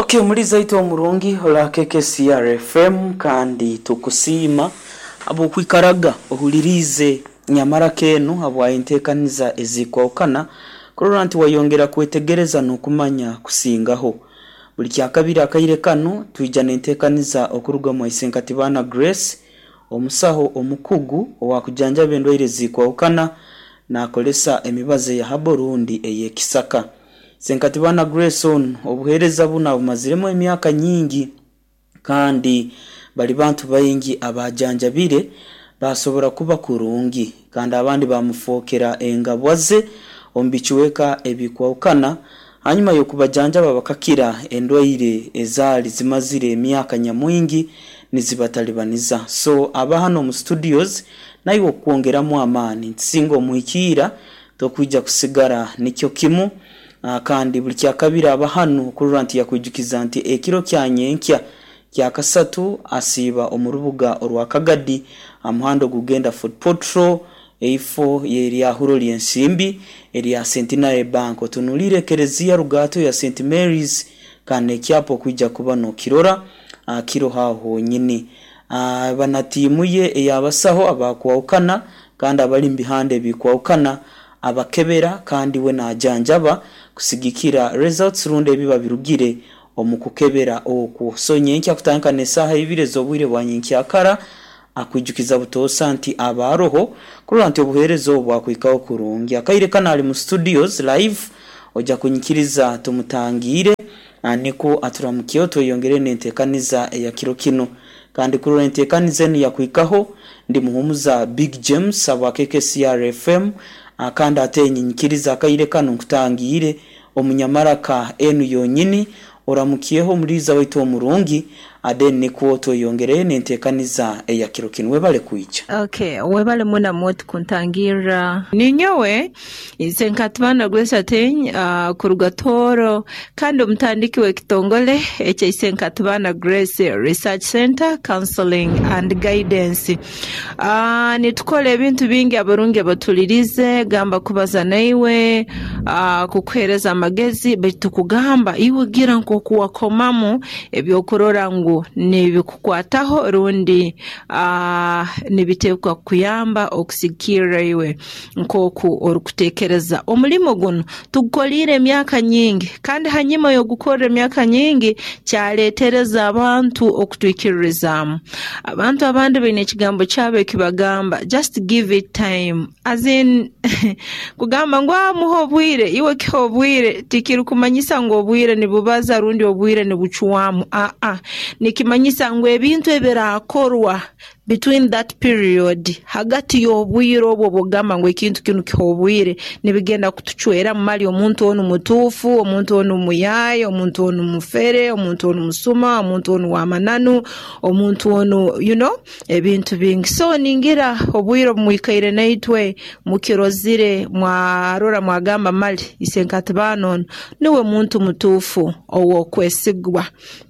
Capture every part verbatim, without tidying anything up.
Okay, muliza itu omurungi ola K K C R F M, kandi tukusiima habwokwikaraga ohuliriize nyamara kenu, habwa enteekaniza ezikwahukana kurora nti wayongera kwetegereza n'okumanya kusingaho. Buli kyakabiri akaire kanu twija n'enteekaniza okuruga omu Isenkatibana Grace, omusaho omukugu owakujanjaba endwaire ezikwahukana nakolesa emibazi eya herbal rundi ey'ekisaka. Senkatibana Grace onu obuheereza bunu abumaziremu emyaka nyingi, kandi bali bantu baingi abajanjabire basobora kuba kurungi, kandi abandi bamufookera engabwa ze omu bicweka ebikwahukana hanyuma y'okubajanjaba bakakira endwaire ezaali zimazire emyaka nyamwingi nizibatalibaniza. So aba hano omu studios naiwe okukwongeramu amaani nti singa omuhikiira tokwija kusigara nikyo kimu. ah, kandi buli kyakabiri aba hanu kurora nti yakwijukiza nti ekiro kya nyenkya kyakasatu asiiba omu rubuga orwa Kagadi, aha muhanda ogugenda Fort Portal, eifo y'eryahuro ly'ensimbi erya Centenary Bank, otunuliire ekereziya Rugato ya Saint Mary's, kandi n'ekyapa okwija kuba nokirora ah, kiroho aho honyini. Ah, bana tiimu ye ey'abasaho abakwahukana kandi abali mu bihanda ebikwahukana abakebera, kandi we najanjaba kusigikira results rundi ebiba birugire omu kukebera okwo. So nyenkya kutandika n'esaaha ibiri ez'obwire bwa nyenkyakara akwijukiza butoosa nti abaroho kurora nti obuheereza obu bwakwikaho kurungi. Akaire kano ali mu studios live, ojja kunyikiriza tumutangiire ah, nikwo aturamukyeho tweyongere n'enteekaniza eya kiro kinu. Kandi kurora enteekaniza enu yakwikaho, ndi Muhumuza Big James abwa K K C R F M. ah, kandi ate nyinyikiriza akaire kanu nkutangiire omunyamaraka enu yonyini, oramukyeho omuliiza waitu omurungi, then nikwo tweyongereyo n'enteekaniza eya kiro kinu. Webale kwija. Okay, webale muna mwoti kuntangirra. Ninyowe Isenkatibana Grace Ateny, uh, kuruga Tooro, kandi omutandiki w'ekitongole ekya Isenkatibana Grace Research Center, Counseling and Guidance. Uh, nitukora ebintu bingi. Abarungi abatulirize, gamba kubaza naiwe, uh, kukuhereza amagezi, baitu tukugamba iwe gira nk'oku wakomamu ebyokurora ngu nibikukwataho rundi uh, nibiteekwa kukuyamba okusigikirra iwe nk'oku orukuteekereza. Omulimo guno tugukoliire emyaka nyingi, kandi hanyuma y'ogukorra emyaka nyingi kyaleetereza abantu okutwikiririzaamu. Abantu abandi baine ekigambo kyabo ekibagamba, "Just give it time," as in kugamba ngu amuha obwire. Iwe kiha obwire tikirukumanyisa ngu obwire nibubaza rundi obwire nibucwamu. Aa, nikimanyisa ngu ebintu ebirakorwa between that period, hagati y'obwire obwo bwogamba ngu ekintu kinu kiha obwire, nibigenda kutucweramu mali omuntu onu mutuufu, omuntu onu muyaaya, omuntu onu mufere, omuntu onu musuma, omuntu onu w'amananu, omuntu onu, you know ebintu bingi. So ningira obwire obumwikaire naitwe mukirozire, mwarora, mwagamba mali Isenkatibana onu niwe muntu mutuufu ow'okwesigwa.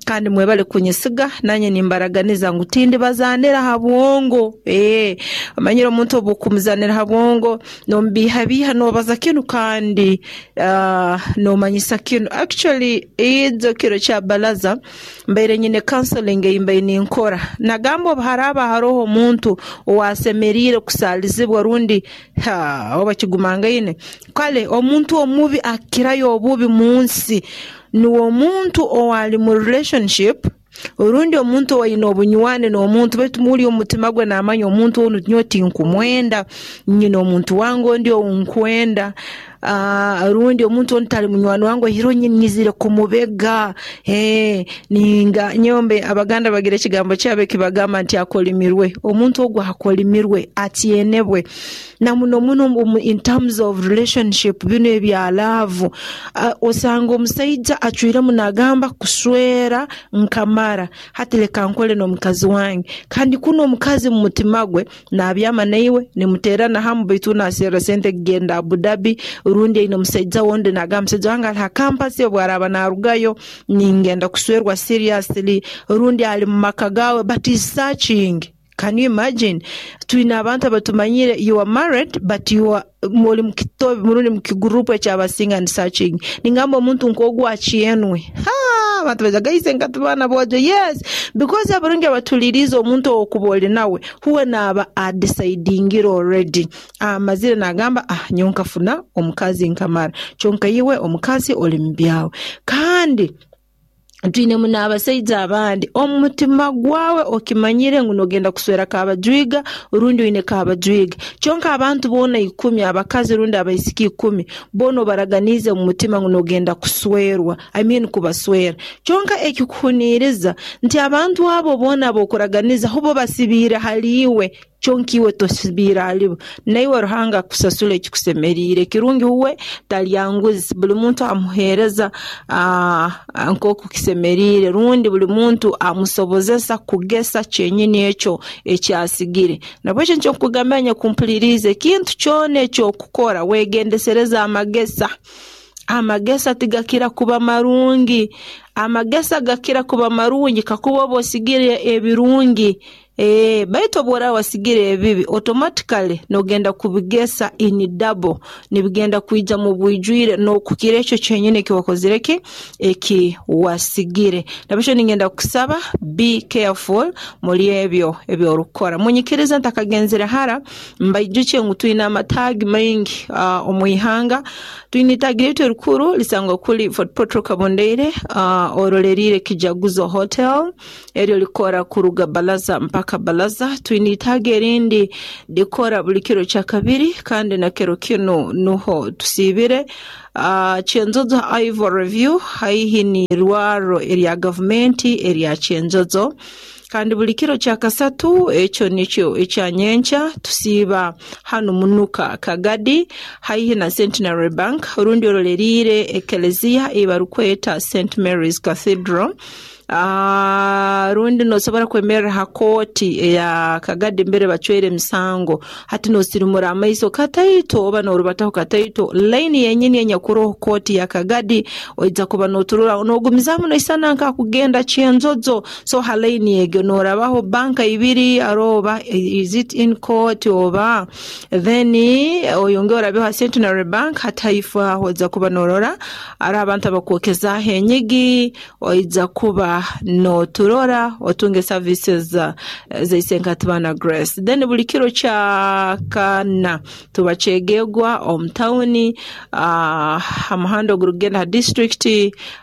Kandi mwebale kunyesiga, nanye nimbaraganiza ngu tindibazanira ha bwongo. Ee, omanyire omuntu obu okumuzanira ha bwongo nomubiihabiiha, nobaza kinu kandi uh, nomanyisa kinu. Actually, ijo kiro kya balaza mbaire nyine counseling ei mbaire ninkora, nagamba obu haraaba haroho omuntu owasemeriire kusaalizibwa rundi ha, oba kigumangaine, kale omuntu omubi akirayo obubi mu nsi niwe omuntu owali mu relationship rundi omuntu owaine obunywani n'omuntu, baitu muli omu mutima gwe namanya omuntu onu nyowe tinkumwenda, nyine omuntu wange ondi ounkwenda, uh, rundi omuntu onu tali munywani wange, oihireho nyizire kumubega. eh, ninga nyombe Abaganda bagira ekigambo kyabo ekibagamba nti akolimirwe. Omuntu ogwo akolimirwe, atyenebwe na muno muno in terms of relationship, bino ebya love. uh, osanga omusaija acwiremu nagamba kuswera nkamara, hati leka nkole n'omukazi wange, kandi kuno omukazi mu mutima gwe nabyama naiwe nimuteerana hamu, baitu naserra sente kugenda Abu Dhabi, rundi aine omusaija wundi, nagamba musaija wange ali ha campus, obu araaba narugayo ningenda kuswerwa seriously, rundi ali mu maka gawe but is searching. Can you imagine? Twine abantu abatumanyire, you are married but you are muri mukitobe, murundi mukigurupu ekyabasinga and searching. Ningamba omuntu nk'ogwo akyenwe. Ha! Abantu bajaga Isenkatibana bwojo. Yes, because abarungi abatuliriza omuntu okuba oli nawe huwe naaba adecidingire already, amazire nagamba, ah, nyowe nkafuna omukazi nkamara. Kyonka iwe omukazi oli mu byawe. Kandi twinemu n'abasaija abandi, omutima gwawe okimanyire ngu nogenda kuswera kabajwiga rundi oine kabajwiga, kyonka abantu boona ikumi, abakazi rundi abaisiki ikumi, boona obaraganiize mu mutima ngu nogenda kuswerwa, I mean kubaswera. Kyonka ekikuhuniiriza nti abantu abo boona abokuraganiza hubo basibiire hali iwe, kyonka iwe tosibiire halibo. Naiwe Ruhanga akusasula ekikusemeriire. Kirungi huwe talyanguzi, buli muntu amuheereza nk'oku kisemeriire, rundi buli muntu amusobozesa kugesa kyenyini ekyo ekyasigire. Nabwekyo nikyo nkugambira nyakumpuliriize, ekintu kyona eky'okukora wegendesereze amagesa. Amagesa tigakira kuba marungi, amagesa gakira kuba marungi kakuba oba osigire ebirungi. E, baitu obu oraaba wasigire ebibi, automatically nogenda kubigesa in double, nibigenda kwija mu bwijwire n'okukira ekyo kyenyini eki wakozire ki eki wasigire. Nabwekyo ningenda kusaba, be careful muri ebyo ebyorukukora. Munyikirize ntakagenzere hara, mbaijukye ngu twine amataagi maingi uh, omu ihanga. Twine itaagi lyaitu erikuru lisangwa kuli Fort Portal Kabondeire, uh, oroleriire Kijaguzo Hotel, eryo likora kuruga Balaza mpaka Balaza. Twine itaagi erindi likora buli kiro kya kabiri, kandi na kiro kinu nuho tusiibire, uh, Kyenjojo Ivory Review, haihi ni irwaro erya gavumenti erya Kyenjojo. Kandi buli kiro kya kasatu, ekyo nikyo ekya nyenkya, tusiiba hanu Munuka Kagadi, haihi na Centenary Bank, rundi oroleriire ekeleziya ei barukweta Saint Mary's Cathedral. Uh, rundi nosobora kwemerera ha kooti eya Kagadi mbere bacwere emisango, hati nosirimura amaiso kataito oba norubataho kataito, laini yenyini enyakuroho kooti ya Kagadi, oija kuba noturora nogumizamu noisana nkakugenda Kyenjojo. So ha laini egyo norabaho banka ibiri, aroba is it in court oba, then oyonge orabeho ha Centenary Bank hataifu aho, oija kuba norora ari abantu abakwokezaho enyigi, oija kuba noturora otunge services uh, za Isenkatibana Grace. Then buli kiro kya kana tuba kyegegwa omu tawuni, uh, ha muhanda ogurugenda ha district,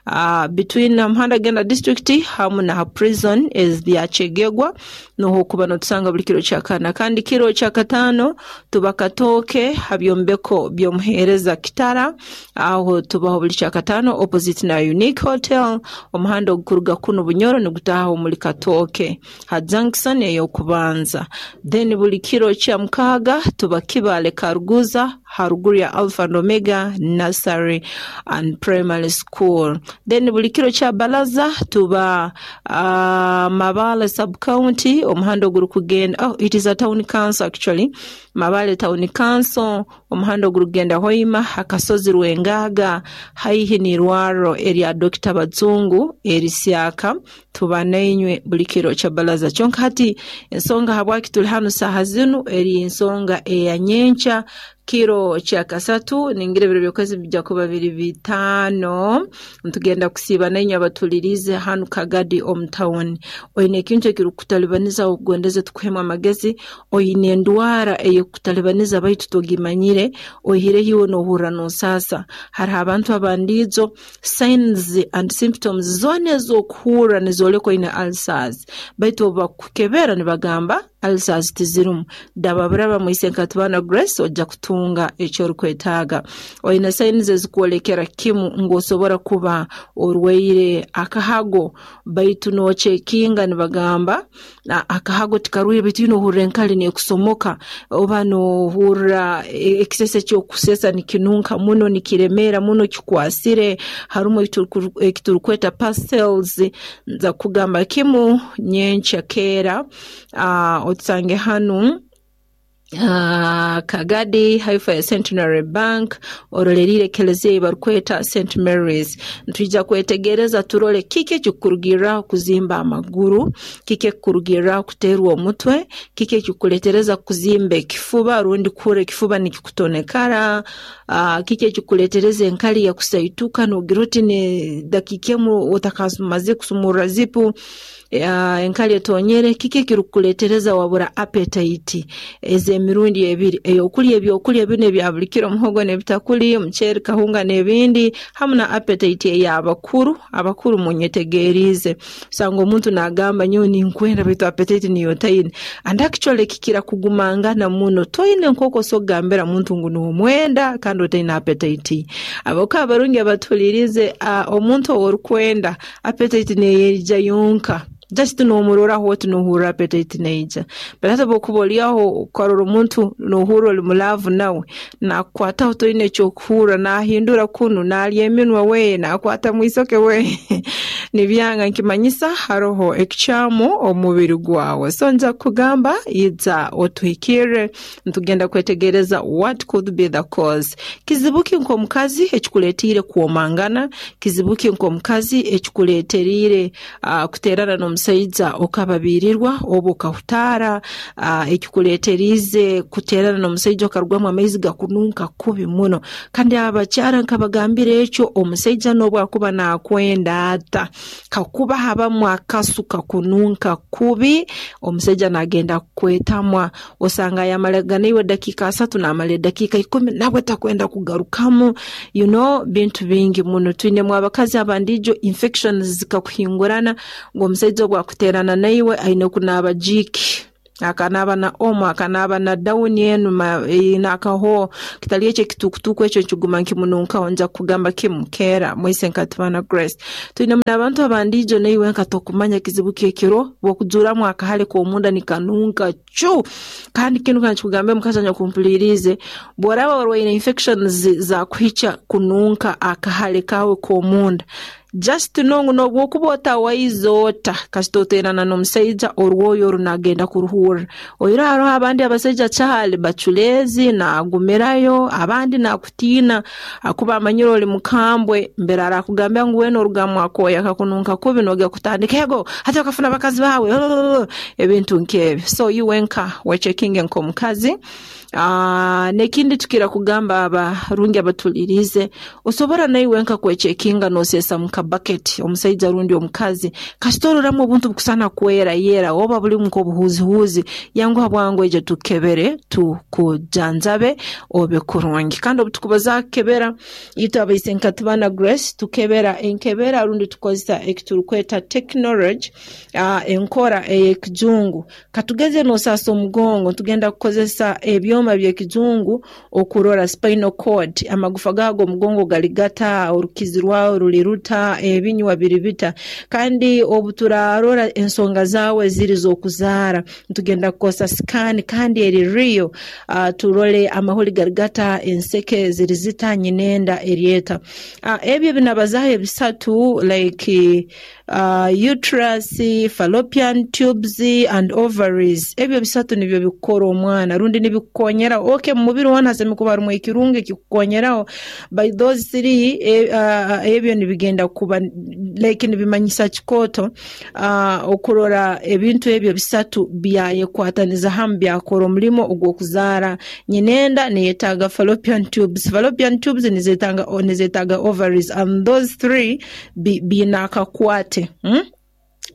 uh, between omuhanda genda district hamu na ha prison ya Kyegegwa, nuho kuba notusanga buli kiro kya kana. Kandi kiro kya katano tuba Katooke ha byombeko by'omuheereza Kitara, aho tubaho buli kya katano opposite na Unique Hotel, omuhanda ogukuruga kuno Bunyoro nigutaha omuri Katooke ha junction ey'okubanza. Then buli kiro kya mukaaga tuba Kibale Karuguza, haruguru ya Alpha and Omega Nursery and Primary School. Then buli kiro kya balaza tuba uh, Mabale sub county, omuhanda ogurukugenda, oh, it is a town council actually, Mabale Town Council, omuhanda ogurugenda Hoima, akasozi Rwengaga, haihi n'irwaro erya Dokita Bazungu erisyaka, tuba nainywe buli kiro kya balaza. Kyonka hati ensonga habwaki tuli hanu saaha zinu eri ensonga eya nyenkya kiro kya kasatu, ningira ebiro by'okwezi bijja kuba biri bitaano, ntugenda kusiiba nainywe abatuliriize hanu Kagadi omu tawuni. Oine ekintu ekirikukutalibaniza okugondeze tukuhemu amagezi, oine endwara eyekukutalibaniza baitu togimanyire, oihireho iwe nohurra nosaasa. Hariho abantu abandiijo signs and symptoms zoona ez'okuhurra nizooleka oine ulcers, baitu obu bakukebera nibagamba ulcers tizirumu. Daba buraba mu Isenkatibana Grace, ojja kutunga ekyorukwetaaga. Oine signs ezikwolekera kimu ngu osobora kuba orwaire akahago, baitu nocekinga nibagamba akahago tikarwaire, baitu ine ohurra enkali nekusomoka, oba nohurra ekisese ekyokusesa nikinunka muno, nikiremeera muno, kikwasire, harumu ekiturukweta parcels. Nza kugamba kimu nyenkya keera, uh, otusange hanu. Uh, Kagadi haifa ya Centenary Bank orolerire kelezia barikweta Saint Mary's. Ntwija kwetegereza turole kiki ekikurugira kuzimba amaguru, kiki ekikurugira kuterwa omutwe, kiki ekikuletereza kuzimba ekifuba rundi kuhura ekifuba nikikutonekara, uh, kiki ekikuletereza enkali ya kusaituka nogira oti ne dakika emu otakamaze kusumurra zipu, uh, enkali etonyere, kiki ekirikuletereza wabura appetite ez'emirundi ebiri, eyokulya ebyokulya bino ebya buli kiro, omuhogo n'ebitakuli, omuceeri, kahunga n'ebindi, hamu na appetite ey'abakuru. Abakuru munyetegerize, osanga omuntu nagamba nyowe ninkwenda baitu appetite niyo ntaine, and actually kikira kugumangana muno. Toine nk'oku osobola kugambira muntu ngu nomwenda kandi otaine appetite. Aboka abarungi abatuhulirize, uh, omuntu ow'orikwenda appetite neyeija yonka, just nomuroraho oti nohurra appetite neija. But hati obwokuba oli aho okarora omuntu nohurra oli mu love nawe, nakukwataho toine ekyokuhurra, nahindura kunu, narya eminwa we, nakwata mwisoke we nibyanga, nkimanyisa haroho ekikyamu omu mubiri gwawe. So nja kugamba iza otuhikirre, nitugenda kwetegereza what could be the cause. Kizibu ki nk'omukazi ekikuleetiire kwomangana, kizibu ki nk'omukazi ekikuleeteriire uh, kuterana n'omusaija okababirirwa oba okahutaara, uh, ekikuleeteriize kuterana n'omusaija okarugwamu amaizi gakununka kubi muno. Kandi abakyara nkabagambira ekyo, omusaija n'obu akuba nakwenda ata, kakuba habamu akasu kakununka kubi, omusaija nagenda kukwetamwa. Osanga yamalaga naiwe dakiika asatu, namara edakiika ikumi nabwe takwenda kugarukamu, you know, bintu bingi muno. Twinemu abakazi abandijo infections zikakuhingurana ngu omusaija obu akuterana naiwe aine kunaaba Jik, akanaaba na Omo, akanaaba na Downy enu nakaho kitali ekyo ekitukutuku ekyo nkiguma nkimununkaho. Nja kugamba kimu keera mwise nkatibana Grace. Twinemu n'abantu abandijo naiwe nka tokumanya kizibu kyekiro bwokujuramu akahale k'omunda nikanunka cu. Kandi kinu kankikugambe omukazi anyakumpuliriize, bw'oraba orwaire infections zakuhikya kununka akahale kawe k'omunda, just know ngu n'obwokuba otawaize ota, kasita oterana n'omusaija orwoyo oru nagenda kuruhurra. Oiro haroho abandi abasaija kyali baculeezi nagumirayo, abandi nakutiina akuba amanyire oli mukambwe, mbere arakugambira ngu wena orugamu akoya kakununka kubi nogenda kutandika ego hati okafuna bakazi bawe ebintu nk'ebyo. So iwe nka wechekinge nk'omukazi. Uh, nekindi tukira kugamba abarungi abatulirize, osobora naiwe nka kwechekinga nosesa mu kabaketi omusaija rundi omukazi, kasita ororamu obuntu bukusana kwera yera oba buli nk'obuhuzihuzi, yanguha bwangu ejo tukebere tukujanjabe obe kurungi. Kandi obutukubaza kukebera itwe abaise nkatibana Grace tukebera enkebera rundi tukozesa ekiturukweta technology, uh, enkora ey'ekijungu. Katugeze nosasa omugongo, tugenda kukozesa ebyoma by'ekijungu okurora spinal cord, amagufa gago omugongo gali gata, orukizi rwawe ruli ruta, ebinywa biri bita. Kandi obu turarora ensonga zawe ziri z'okuzaara, tugenda kukozesa scan kandi eri real, uh, turole amahuri gari gata, enseke ziri zita, nyinenda eryeta. Uh, ebyo binabazaho ebisatu like uh, uterus, fallopian tubes and ovaries. Ebyo bisatu nibyo bikukora omwana rundi nibikukonyera. Okay, mu mubiri wona hasemi kuba harimu ekirungi ekikukonyeraho, by those three e, uh, ebyo nibigenda kuba like nibimanyisa kikoto, uh, okurora ebintu ebyo bisatu byayekwataniza hamu byakora omulimo ogw'okuzaara. Nyinenda neyetaaga fallopian tubes, fallopian tubes nizetaaga nizetaaga ovaries, and those three biine akakwate, hmm?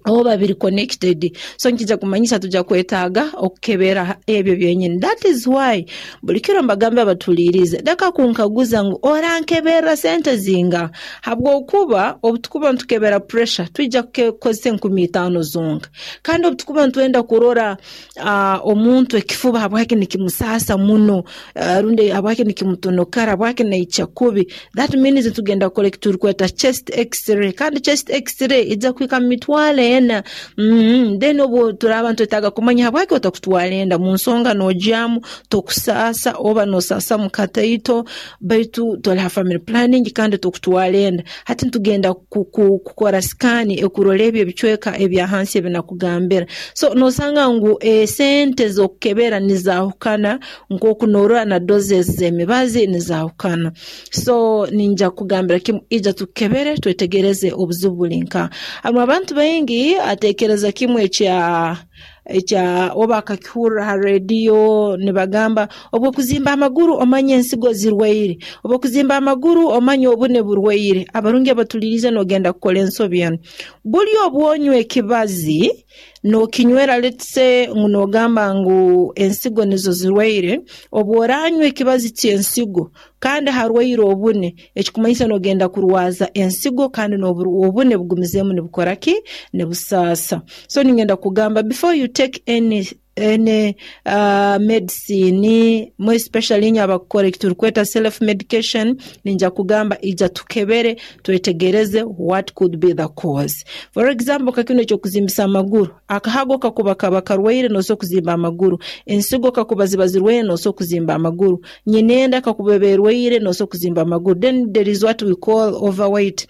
Oba biri connected. So nkija kumanyisa tuja kwetaaga okukebera ebyo byenyini. That is why buli kiro mbagambe abatulirize, daka kunkaguza ngu orankebera sente zinga, habwokuba obutukuba ntukebera pressure twija kukozesa enkumi itaano zonka. Kandi obutukuba ntwenda kurora uh, omuntu ekifuba habwaki nikimusasa muno, uh, rundi habwaki nikimutonokara, habwaki naikya kubi, that means tugenda kukora ekiturukweta chest x-ray. Kandi chest x-ray ija kuhika mu mitwaro ena. Mm, then obu turaba ntwetaaga kumanya habwaki otakutwara enda mu nsonga noogyamu tokusaasa oba nosaasa mu kataito, baitu toli ha family planning kandi tokutwara enda. Hati ntugenda kukora scan ekurora ebi ebicweka ebya hansi ebi nakugambira. So nosanga ngu esente z'okukebera nizaahukana nk'oku norora na doses z'emibazi nizaahukana. So ninja kugambira kimu, ija tukukebere twetegereze obuzibu buli nkaha. Harimu abantu baingi ateekereza kimu ekya ekya oba akakihurra ha rediyo nibagamba obu okuzimba amaguru omanye ensigo zirwaire, obu okuzimba amaguru omanye obune burwaire. Abarungi abatuliirize noogenda kukora ensobi enu. Buli obu onywa ekibazi nookinywera, let's say ngu noogamba ngu ensigo nizo zirwaire, obu oranywa ekibazi ky'ensigo kandi harwaire obune, ekikumanyisa noogenda kurwaza ensigo kandi n'obune bugumizeemu nibukora ki? Nibusaasa. So ningenda kugamba, before you take any any uh, medicine, more especially inywe abakukora eki turukweta self medication, ninja kugamba ija tukebere twetegereze what could be the cause. For example, ka kinu ekyokuzimbisa amaguru, akahago kakuba kaba karwaire noosobola kuzimba amaguru, ensigo kakuba ziba zirwaire noosobola kuzimba amaguru, nyinenda kakuba eba erwaire noosobola kuzimba amaguru. Then there is what we call overweight.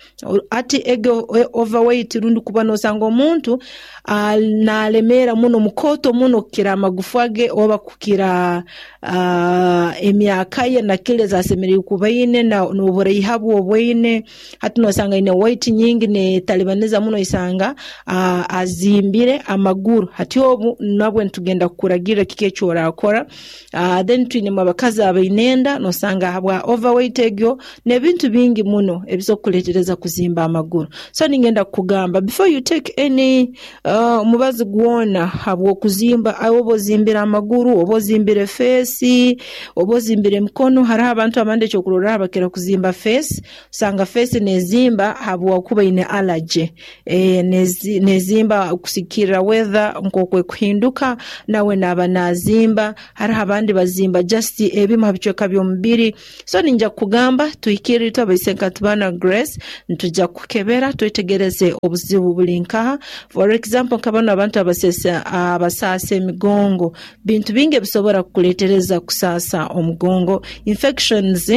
Ati ego overweight rundi kuba noosanga omuntu uh, naalemeera muno, mukooto muno kukira amagufa ge oba kukira uh, emyaka ye na kilo ez'asemeriire kuba aine n'oburaiha bwe obwaine. Hati noosanga aine weight nyingi neetalibaniza muno, osanga uh, azimbire amaguru. Hati obu nabwe nitugenda kukuragirra kiki eki oraakora. Uh, then twinemu abakazi abaine enda, noosanga habwa overweight egyo n'ebintu bingi muno ebisobola kukuleetereza kuzimba amaguru. So ningenda kukugamba, before you take any uh, omubazi gwona habw'okuzimba, oba ozimbire amaguru, oba ozimbire face, oba ozimbire emikono. Hariho abantu abandi ekyokurorraho bakira kuzimba face, osanga face neezimba habwokuba ine allergy. E, neezimba kusigikirra weather nk'oku ekuhinduka, nawe naaba naazimba. Hariho abandi bazimba just ebimu ha bicweka by'omubiri. So ninja kukugamba tuhikirre itwe abaisenkatubana Grace, nitujja kukukebera twetegereze obuzibu buli nkaha. For example, nka banu abantu abaseesa abasaasa emigongo, bintu bingi ebisobora kukuleetereza kusaasa omugongo. Infections,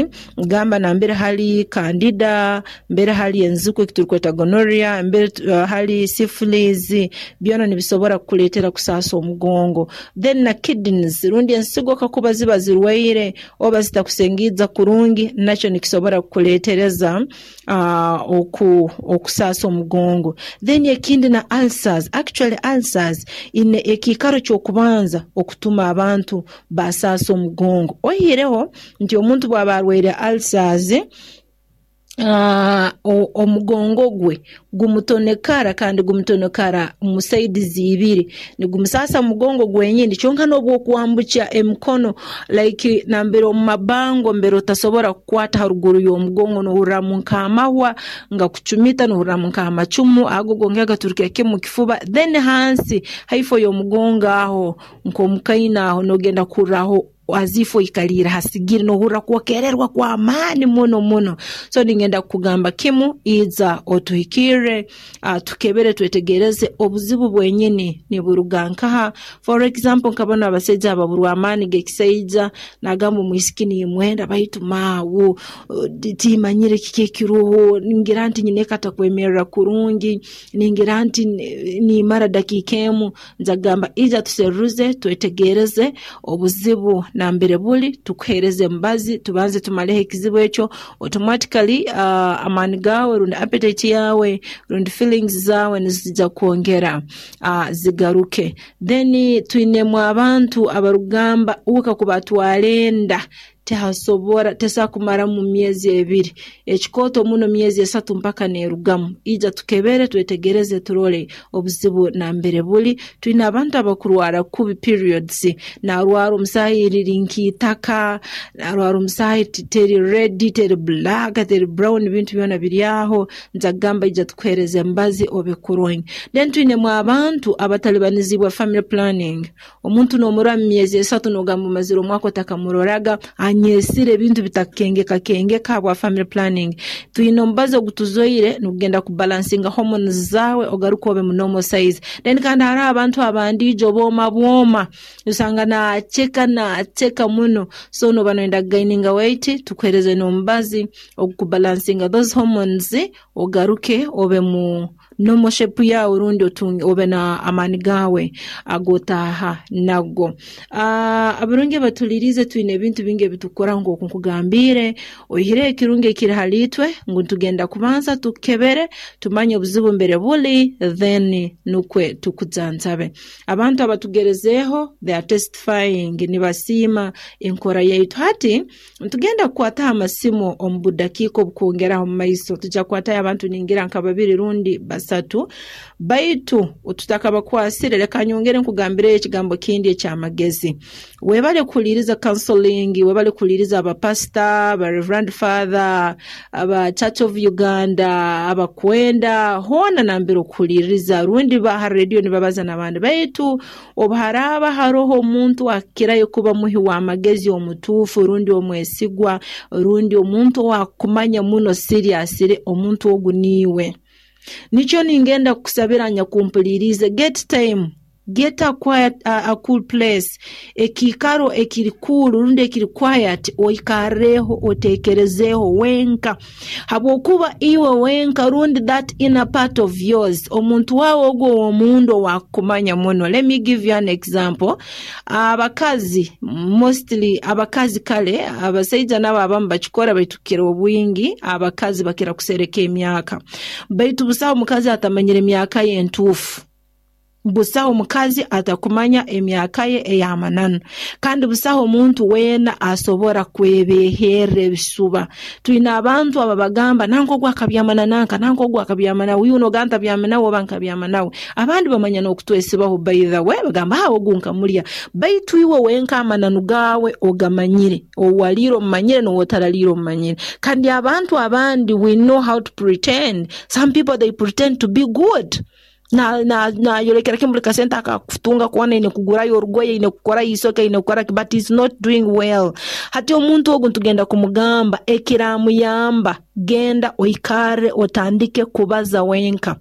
gamba nambere hali candida, mbere hali enziku eki turukweta gonorrhea, mbere uh, hali syphilis, byona nibisobora kukuleetera kusaasa omugongo. Then na kidneys rundi ensigo kakuba ziba zirwaire oba zitakusengiiza kurungi, nakyo nikisobora kukuleetereza uh, oku, okusaasa omugongo. Then ekindi na ulcers. Actually ulcers ine ekiikaro ky'okubanza okutuma abantu basaasa omugongo. Oihireho nti omuntu bw'aba arwaire ulcers, uh, omugongo gwe gumutonekara, kandi gumutonekara mu sides ibiri, nigumusaasa mugongo gwenyini kyonka n'obwokwambukya emikono, like nambere omu mabango mbere otasobora kukwata haruguru y'omugongo, nohurramu nk'amahwa nga kucumita, nohurramu nk'amacumu ago gongera gaturukira kimu mu kifuba. Then hansi haifo y'omugongo aho nk'omukaina aho nogenda kuhurraho as if oikaliire hasigire, nohurra kwokererwa kw'amaani muno muno. So ningenda kukugamba kimu, iza otuhikirre, uh, tukebere twetegereze obuzibu bwenyini niburuga nkaha. For example, nka banu abasaija ababurwa amaani g'ekisaija, nagamba omwisiki nimwenda baitu maawu timanyire kiki ekiruho, ningira nti nyineka atakwemerra kurungi, ningira nti nimara dakiika emu. Nza kugamba ija tuseruze twetegereze obuzibu nambere buli, tukuheereze emibazi tubanze tumaleho ekizibu ekyo. Automatically uh, amaani gaawe rundi appetite yawe rundi feelings zaawe nizija kwongera uh, zigaruke. Then twinemu abantu abarugamba uwe kakuba atwara enda tehasobora tesobola kumaramu myezi ebiri, ekikooto muno myezi esatu mpaka neerugamu. Ija tukebere twetegereze turole obuzibu nambere buli. Twine abantu abakurwara kubi periods, narwara omusaahi riri nk'itaka, narwara omusaahi teri red, teri black, teri brown, ebintu byona biri aho. Nza kugamba ija tukuheereze emibazi obe kurungi. Then twinemu abantu abatalibanizibwa family planning. Omuntu noomurora mu myezi esatu nogamba omazire omwaka otakamuroraga. Anyesire ebintu bitakengeka kengeka habwa family planning. Twine omubazi ogutuzoire nugenda kubalansinga hormones zawe, ogaruka obe mu normal size. Then kandi hariho abantu abandiijo booma bwoma, osanga naaceka naaceka muno. So noba noyenda kugaininga weight, tukuhereze n'omubazi ogukubalansinga those hormones, ogaruke obe mu normal shape yawe, rundi otunge obe na amaani gawe agotaaha nago. uh, abarungi abatulirize, twine ebintu bingi ebitukora. Nk'oku nkugambire, oihireho ekirungi ekiri hali itwe ngu tugenda kubanza tukebere, tumanye obuzibu mbere buli, then nukwe tukuzanzabe. Abantu abatugerezeeho, they are testifying, nibasiima enkora yaitu. Hati tugenda kukwataho amasimu omu budakiika obukwongeraho mu maiso. Tujja kukwatayo abantu ningira nka babiri rundi basatu, baitu tutakabakwasire, leka nyongere nkugambireyo ekigambo kindi ekyamagezi. Webale kuhuliriza counseling, webale kuhuliriza abapasita, aba reverend father, aba Church of Uganda, abakwenda hoona nambere okuhuliriza, rundi baha radio nibabaza n'abandi. Baitu obu haraaba haroho omuntu akirayo kuba muhi w'amagezi omutuufu, rundi omwesigwa, rundi omuntu owakumanya muno seriously, omuntu ogu niiwe. Nikyo ningenda kukusabira, nyakumpulirize, get time, get a quiet, a, a cool place, ekiikaro ekiri cool rundi ekiri quiet, oikarreho, otekerezeeho wenka, habwokuba iwe wenka rundi that inner part of yours, omuntu wawe ogwo ow'omunda owakumanya muno. Let me give you an example. Abakazi, mostly abakazi, kale abasaija nabo abamu bakikora, baitu kukira obwingi abakazi bakira kusereka emyaka. Baitu busaho omukazi atamanyire emyaka ye entuufu, busaho omukazi atakumanya emyaka ye ey'amananu, kandi busaho omuntu weena asobora kwebeherra ebisuba. Twine abantu ababagamba, "Nanka ogu akabyamana nanka, nanka ogu akabyama nawe, uyu noga ntabyama nawe oba nkabyama nawe." Abandi bamanya n'okutwesibaho, by the way, bagamba, "Ha, ogu nkamulya." Baitu iwe wenka amananu gawe ogamanyire, owaliire omumanyire n'owotaraliire omumanyire. Kandi abantu abandi, we know how to pretend. Some people, they pretend to be good, nayolekera kimu buli kasente akakutunga kuona ine kugurayo orugoye, ine kukora isoke, ine kukora, but is not doing well. Hati omuntu ogu ntugenda kumugamba ekiramuyamba, genda oikarre, otandike kubaza wenka.